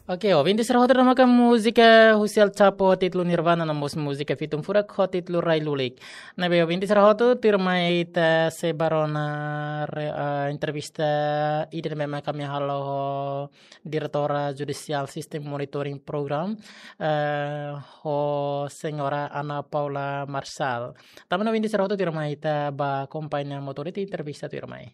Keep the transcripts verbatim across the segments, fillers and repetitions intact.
Oke, ouvinte sira hotu, ida-ne'e maka múzika husi El Chapo ho títulu Nirvana, no mós múzika Fitun Furak ho títulu Rai Lulik. Ne'ebé ouvinte sira hotu, tuirmai ita sei bá rona re-, ah, entrevista ida ne'ebé mak ami halo ho Diretora Judicial System Monitoring Program, eh, ho Señora Ana Paula Marçal. Tanba ne'e ouvinte sira hotu, tuirmai ita bá akompaña motór ita entrevista tuirmai.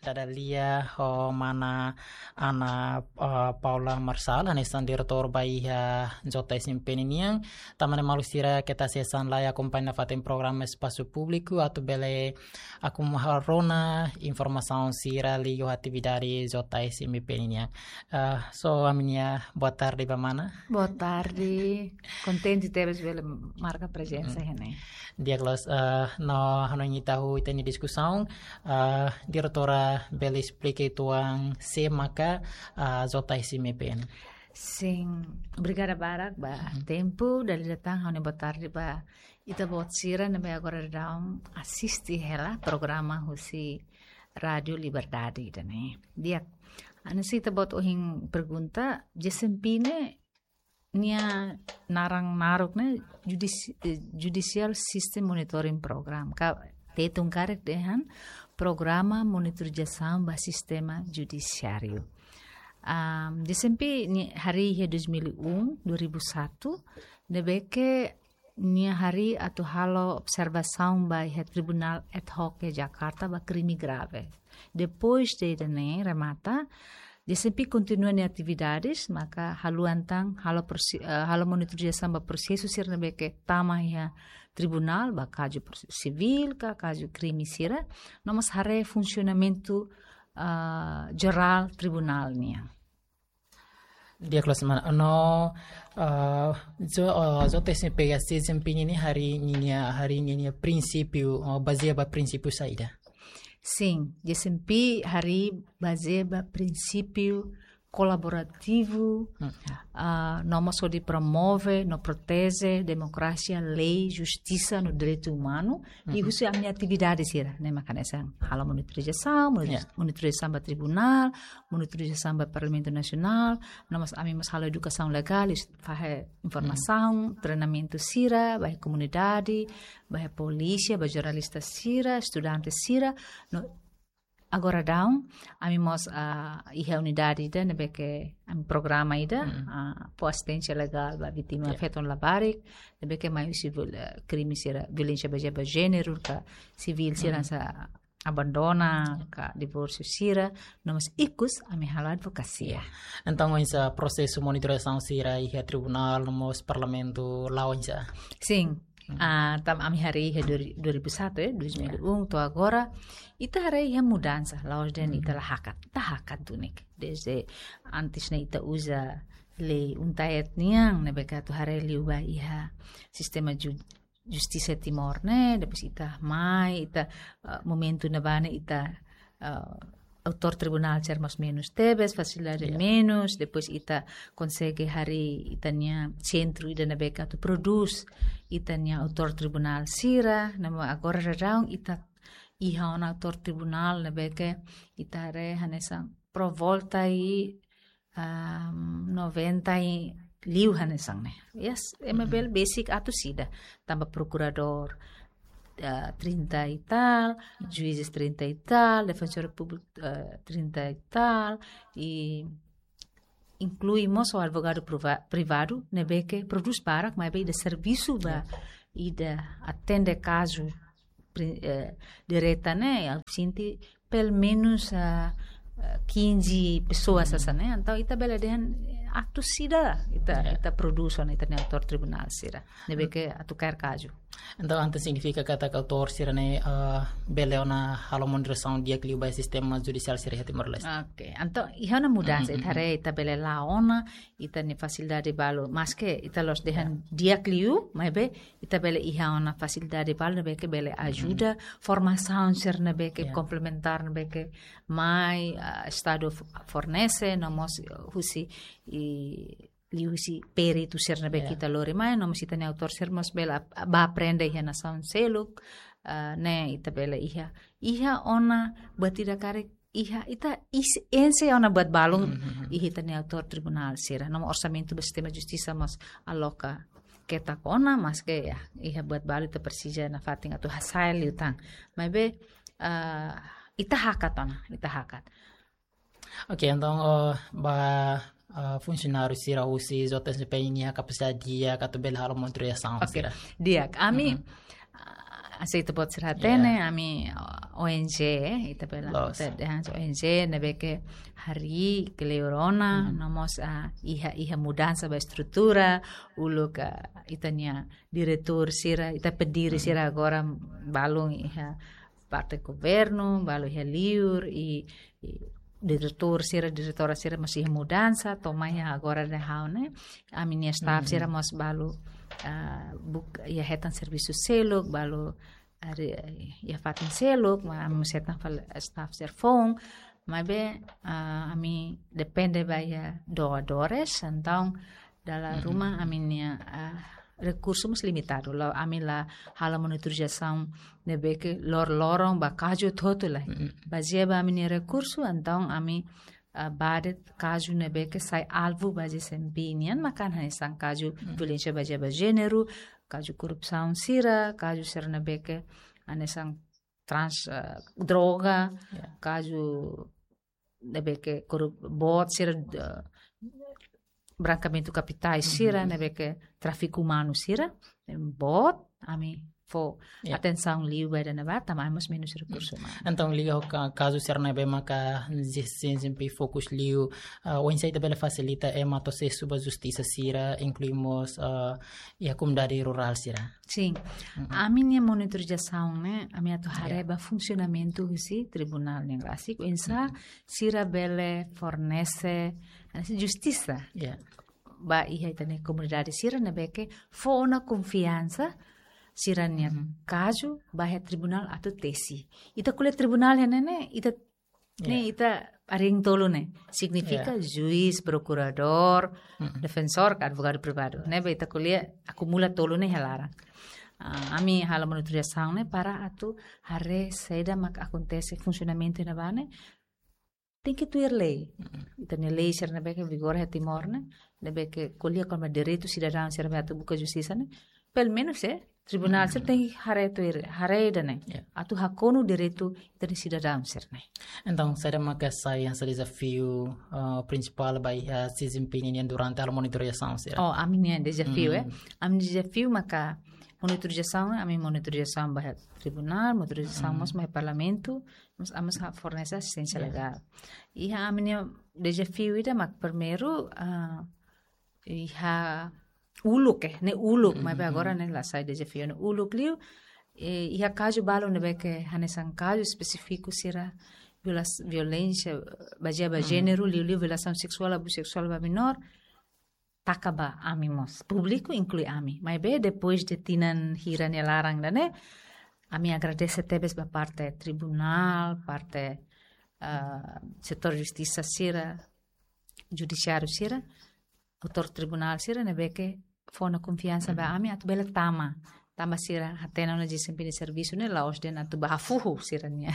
Dada lia ho mana Ana, eh, Paula Marçal, hanesan diretór ba iha J S M P nian. Tanba ne'e maluk sira keta hanesan la akompaña nafatin programa Espasu Públiku atu bele akompaña rona informasaun sira liga ho atividade J S M P nian. Eh, so, ami-nia boa tarde ba mana. Boa tarde. Kontente tebes bele marka prezensa iha ne'e. Di'ak loos, eh, no hanoin ita hahú ita-nia diskusaun, eh, diretora bele esplika uitoan sé maka, eh, J S M P nian. Sin, obrigada barak ba tempu, dala ida tan ha'u-nia boa tarde ba ita-boot sira ne'ebé agora daudaun asiste hela programa husi Rádiu Liberdade ida-ne'e. Di'ak, hanesan ita-boot ohin pergunta, J S M P ne'e nia naran naruk ne'e judici-, eh, Judicial System Monitoring Program. Ka Tetun karik dehan Programa Monitorizasaun ba Sistema Judisiáriu. Am, J S M P nia harii iha dois mil e um, dua ribu satu, ne'ebé ke nia harii atu halo observasaun ba iha Tribunál Ad Hoc iha Jakarta ba krime grave. Depois de ida-ne'e remata, J S M P kontinua nia atividades, maka haluha tan halo prosi-, eh, halo monitorizasaun ba prosesu sira ne'ebé ke tama iha tribunál, ba kazu prosesu sivíl ka kazu krime sira, no mós haree funsionamentu, ah, jerál tribunál nian. Di'ak loos mana, no, ah, J-, ah, J S M P ka J S M P nian harii ninia, harii ninia prinsípiu, ah, bazeia ba prinsípiu saida? Sin, J S M P harii bazeia ba prinsípiu kolaborativu, ah, no mós hodi promove no proteje demokrasia, lei, justisa no direitu umanu, i husi ami-nia atividade sira, ne'e maka hanesan halo monitorizasaun, moni-, monitorizasaun ba tribunál, monitorizasaun ba Parlamentu Nasionál, no mós ami mós halo edukasaun legál, is-, fahe informasaun, treinamentu sira ba iha komunidade, ba iha polísia, ba jornalista sira, estudante sira, no agora daudaun, ami mós, ah, iha unidade ida ne'ebé ke ami programa ida, ah, fó asisténsia legál ba vítima feto no labarik, ne'ebé ke mai husi viol-, eh, krime sira violénsia bazeia ba jéneru, ka sivíl sira hanesan abandona, ka divórsiu sira, no mós ikus ami halo advokasia. Entaun, oinsá prosesu monitorizasaun sira iha tribunál, no mós parlamentu, la'o oinsá? Sin, ah, tanba ami harii iha dua ri-, dua ribu satu, eh, dois mil e um, to'o agora, ita haree iha mudansa, la'ós dehan ita la hakat, ita hakat duni. Desde antes ne'e ita uza lei UNTAET nian, ne'ebé ke atu haree liu ba iha sistema ju-, justisa Timor ne'e, depois ita mai, ita, eh, momentu ne'ebá ne'e ita, eh, autór tribunál sira mós menus tebes, fasilidade menus, depois ita konsege harii ita-nia sentru ida ne'ebé ke atu prodús ita-nia autór tribunál sira, no mós agora daudaun ita iha ona autór tribunál ne'ebé ke ita haree hanesan por volta i, am, noventa i liu hanesan ne'e. Yes, ema bele besik atus ida. Tanba prokuradór, eh, trinta e tal, juízes trinta e tal, defensór públiku, eh, trinta e tal, i inklui mós advogadu priva-, privadu, ne'ebé ke prodús barak, maibé ida servisu ba, ida atende kazu pri-, eh, direta ne'e, ha'u sente pelumenus, ah, ah, quinze pessoas hanesan ne'e. Entaun ita bele dehan, eh, atus ida ita, ita prodús ona ita-nia autór tribunál sira ne'ebé ke atu kaer kazu. Entaun, entaun signifika katak autór sira-ne'e, ah, bele ona halo monitorizasaun di'ak liu ba sistema judisiál sira iha Timor-Leste. Oke, entaun iha ona mudansa, ita haree ita bele la'o ona ita-nia fasilidade balu. Maske ita la'ós dehan di'ak liu, maibé ita bele iha ona fasilidade balu ne'ebé ke bele ajuda, formasaun sira ne'ebé ke komplementár ne'ebé ke mai, ah, Estadu f-, fornese, no mós husi i liuhusi peritu sira ne'ebé ke ita lori mai, no mós ita-nia autór sira mós bele ap-, bá aprende iha nasaun seluk, ah, ne'e ita bele iha. Iha ona buat ida karik iha, ita is-, enxe ona buat balun, iha ita-nia autór tribunál sira. No mós orsamentu ba sistema justisa mós aloka ketak ona, maske ya, iha buat balu ita presiza nafatin atu hasai liután. Maibé, ah, ita hakat ona, ita hakat. Oke, entaun, oh, ba, ah, funsionáriu sira husi J S P nian kapasidade di'ak atu bele halo monitorizasaun sira. Di'ak, ami, ah, hanesan ita-boot sira hatene, ami, ah, O N G, ita bele, loos, ita dehan O N G ne'ebé ke harii kleur ona, no mós, ah, iha, iha mudansa ba estrutura, uluk, ah, ita-nia diretór sira, ita pediri sira agora balun iha parte governu, balu iha liur, i, i diretór sira, diretora sira mós iha mudansa, to'o mai iha agora ne'e ha'u ne'e, ami-nia staff sira mós balu, ah, buka, iha hetan servisu seluk, balu, ah, iha fatin seluk, maibé ami mós hetan fali staff sira foun, maibé, ah, ami depende ba iha doadores, entaun, dala ruma ami-nia, ah, rekursu mós limitadu. La'ós ami la halo monitorizasaun ne'ebé ke loroloron ba kazu hotu-hotu lae. Bazeia ba ami-nia rekursu, entaun ami, ah, bá de'it kazu ne'ebé ke sai alvu ba G S M P nian, maka hanesan kazu violénsia bazeia ba jéneru, kazu korrupsaun sira, kazu sira ne'ebé ke hanesan trans, ah, droga, kazu ne'ebé ke korup-, boot sira, eh, brankeamentu kapitais sira, ne'ebé ke tráfiku umanu sira, boot, ami fó atensaun liu ba ida-ne'ebá, tanba ami mós menus rekursu umanu. Entaun, liga ho ka-, kazu sira ne'ebé maka G S M P fokus liu, ah, oinsá ita bele fasilita ema atu asesu ba justisa sira, inklui mós, ah, iha komunidade rurál sira. Sin. Ami-nia monitorizasaun ne'e, ami atu haree ba funsionamentu husi tribunál ne'e rasik, oinsá sira bele fornese, hanesan justisa ba iha ita-nia komunidade sira ne'ebé ke fó ona konfiansa sira-nia kazu ba iha tribunál atu tesi. Ita ko'alia tribunál iha ne'e ne'e, ita ne'e ita hariin tolu ne'e. Signifika juís, prokuradór, defensór, ka advogadu privadu. Ne'ebé ita ko'alia akumula tolu ne'e iha laran. Ah, ami halo monitorizasaun ne'e para atu haree saida mak akontese, funsionamentu ne'ebá ne'e tenke tuir lei. Ita-nia lei sira ne'ebé ke vigora iha Timor ne'e, ne'ebé ke ko'alia kona-ba direitu sidadaun sira ne'ebé atu buka justisa ne'e, pelumenus, eh, tribunál sira tenke haree tuir, haree ida-ne'e. Atu hakonu direitu ita-nia sidadaun sira ne'e. Entaun, saida maka sai hanesan dezafiu, ah, prinsipál ba iha G S M P nian durante halo monitorizasaun sira? Oh, ami-nia dezafiu, eh. Ami-nia dezafiu maka monitorizasaun, ami monitorizasaun ba iha tribunál, monitorizasaun mós ba iha parlamentu, mós ami mós fornese asisténsia legál. Iha ami-nia dezafiu ida mak primeiru, ah, iha uluk, eh, ne'e uluk, maibé agora ne'e la sai dezafiu, ne'e uluk liu, eh, iha kazu balu ne'ebé ke hanesan kazu espesífiku sira violas-, violénsia bazeia ba jéneru, liuliu violasaun seksuál, abuzu seksuál ba menór, taka ba ami mós. Públiku inklui ami. Maibé depois de tinan hira nia laran ida-ne'e, ami agradese tebes ba parte tribunál, parte, ah, setór justisa sira, judisiáriu sira, autór tribunál sira ne'ebé ke fó ona konfiansa ba ami atu bele tama. Tanba sira hatene ona G S M P nia servisu ne'e la'ós de'it atu bá hafuhu sira-nia.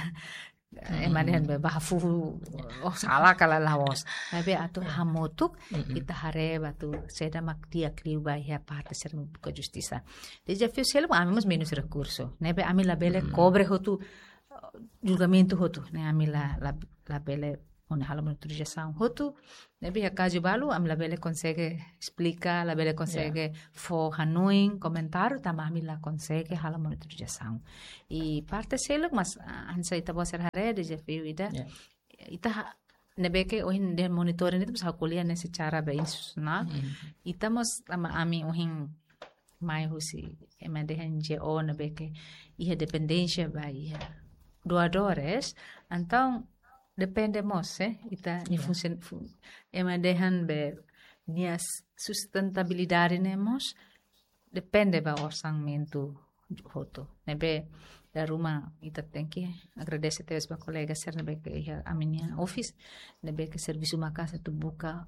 Ema dehan be bá hafuhu, oh, sala ka lae, la'ós. Maibé atu hamutuk, ita haree ba atu saida mak di'ak liu ba iha parte sira buka justisa. Dezafiu seluk, ami mós menus rekursu. Ne'ebé ami labele kobre hotu, eh, julgamentu hotu. Ne'e ami la, la, labele, hodi halo monitorizasaun hotu. Ne'ebé iha kazu balu, ami labele konsege esplika, labele konsege fó hanoin, komentáriu, tanba ami la konsege halo monitorizasaun. I parte seluk, mas, ah, hanesan ita-boot sira haree, dezafiu ida. Ita ha-, ne'ebé ke ohin dehan monitoring ida, mas ha'u ko'alia ne'e secara be institusionál. Ita mós tanba ami ohin mai husi ema dehan N G O ne'ebé ke iha dependénsia ba iha doadores, entaun depende mós, eh, ita-nia funsion-, fun-, ema dehan be nia s-, sustentabilidade ne'e mós depende ba orsamentu hotu. Ne'ebé dala ruma ita tenke agradese tebes ba kolega sira ne'ebé ke iha ami-nia office, ne'ebé ke servisu maka'as atu buka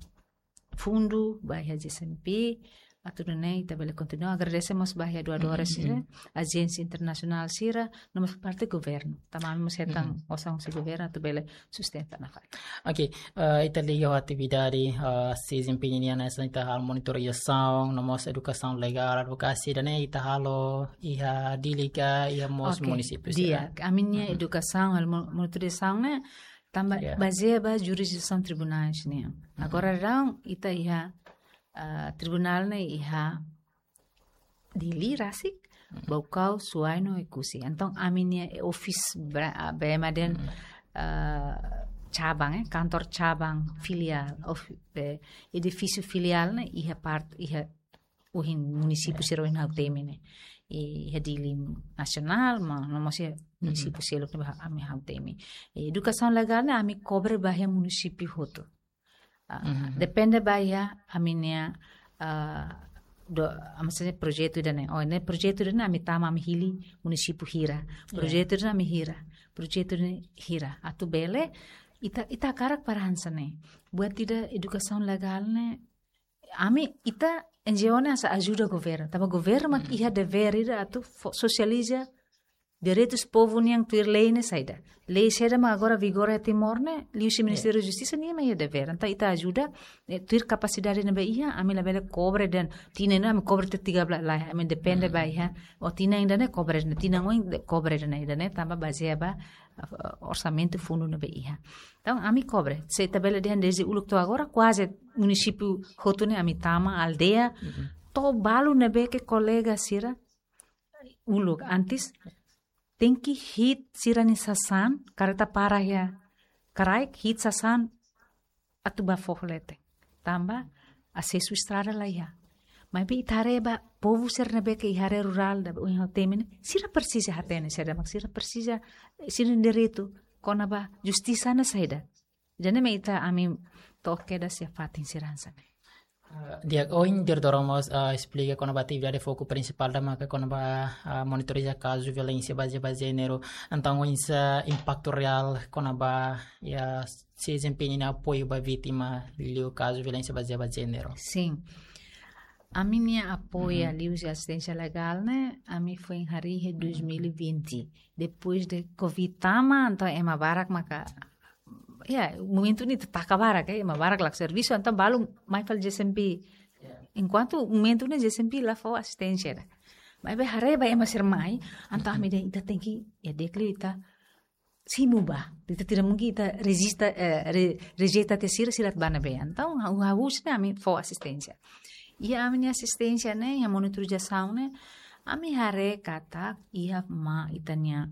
fundu ba iha G S M P, atu nune'e ita bele kontinua. Agradese mós ba iha doadores sira, ajénsia internasionál sira, no mós parte governu. Tanba ami mós hetan osan husi governu atu bele sustenta nafatin. Ok, eh, ita liga ho atividade, eh, SESEMPI nian, hanesan ita halo monitorizasaun, no mós edukasaun legál, advokasia, ida-ne'e ita halo iha Dili ka iha mós munisípiu sira? Di'ak, ami-nia edukasaun, halo mo-, monitorizasaun ne'e, tanba bazeia ba jurisdisaun tribunais nian. Agora daudaun ita iha, ah, tribunál ne'e iha Dili rasik, Baucau, Suai no Oekusi. Entaun ami-nia, eh, office bra-, ah, bema dehan, ah, cabang, eh, kantor cabang filiál, of, eh, edifísiu filiál ne'e iha part, iha ohin munisípiu sira ohin ha'u temi ne'e. Iha Dili nasionál, ma no mós iha munisípiu seluk ne'ebé ami ha'u temi. Eh, edukasaun legál ne'e ami kobre ba iha munisípiu hotu. Ah, depende ba iha ami-nia, ah, do, ah, maksudnya projetu ida-ne'e. Oh, ne'e projetu ida-ne'e ami tama, ami hili munisípiu hira. Projetu ida-ne'e ami hira. Projetu ida-ne'e hira. Atu bele, ita, ita hakarak para hanesan ne'e. Buat ida edukasaun legál ne'e, ami, ita N G O ne'e hanesan ajuda governu. Tanba governu mak iha devér ida atu fó, sosializa direitus povu nian tuir lei ne'e saida. Lei saida mak agora vigora iha Timor ne'e, liuhusi Ministériu Justisa nia mak iha devér. Entaun ita ajuda, eh, tuir kapasidade ne'ebé iha, ami labele kobre dehan, tinan ne'e ami kobre tiha belas, lae, ami depende ba iha, oh tinan ida-ne'e kobre dehan, tinan oin de-, kobre dehan, ida-ne'e tanba bazeia ba, eh, orsamentu fundu ne'ebé iha. Entaun ami kobre, se ita bele dehan dezde uluk to'o agora, kuaze munisípiu hotu ne'e ami tama, aldeia, to'o balu ne'ebé ke kolega sira, uluk antes, tenke hi'it sira-nia sasán, kareta para iha kraik, hi'it sasán atu bá foho leten. Tanba asesu estrada la iha. Maibé ita haree ba povu sira ne'ebé ke iha área rurál ida ohin ha'u temi ne'e, sira presiza hatene, sira mak sira presiza, sira-nia direitu kona-ba justisa ne'e saida. Ida-ne'e mak ita, ami to'o kedas iha fatin sira hanesan ne'e. Ah, di'ak, ohin diretora mós, ah, esplika kona-ba atividade foku prinsipál ida maka kona-ba, ah, monitoriza kazu violénsia bazeia ba jéneru. Entaun, oinsá impaktu reál kona-ba iha SESEMPI nia apoiu ba vítima liu kazu violénsia bazeia ba jéneru? Sin. Ami-nia apoiu liuhusi asisténsia legál ne'e, ami foin harii iha dois mil e vinte. Depois de covid tama, entaun ema barak maka, ya, momentu ne'e ita taka barak, eh, ema barak lakon servisu, entaun balu mai fali JCMP. Enkuantu momentu ne'e JCMP la fó asisténsia ida. Maibé haree ba ema sira mai, entaun ami dehan ita tenke, ya, dekli ita simu ba. Ita tidak mungkin ita rejista, eh, re-, rejeita tiha sira, sira atu bá ne'ebé. Entaun, ha'u, ha'u husi ne'e ami fó asisténsia. Iha ami-nia asisténsia ne'e, iha monitorizasaun ne'e, ami haree katak iha mak ita-nia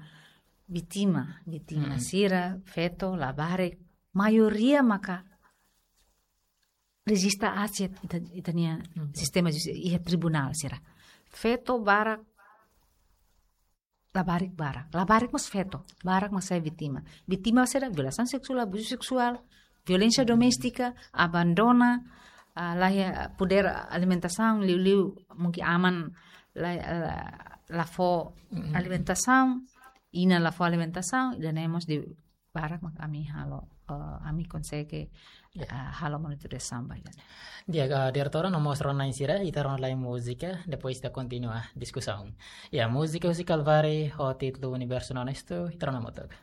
vítima, vítima sira, feto, labarik, maioria maka rejista aat ita, ita-nia sistema justisa iha tribunál sira. Feto barak, labarik barak. Labarik mós feto, barak mak sai vítima. Vítima sira violasaun seksuál, abuzu seksuál, violénsia doméstika, abandona, ah, la iha podér alimentasaun, liuliu mungkin aman la, la, la fó alimentasaun, inan la fó alimentasaun, ida-ne'e mós di barak mak ami halo, eh, ami konsege, eh, halo monitorizasaun ba ida-ne'e. Di'ak, eh, diretora, no mós rona na'in sira, ita rona lai múzika, depois ita kontinua diskusaun. Ya, múzika husi Calvary, ho títulu Universo Honesto, ita rona hamutuk.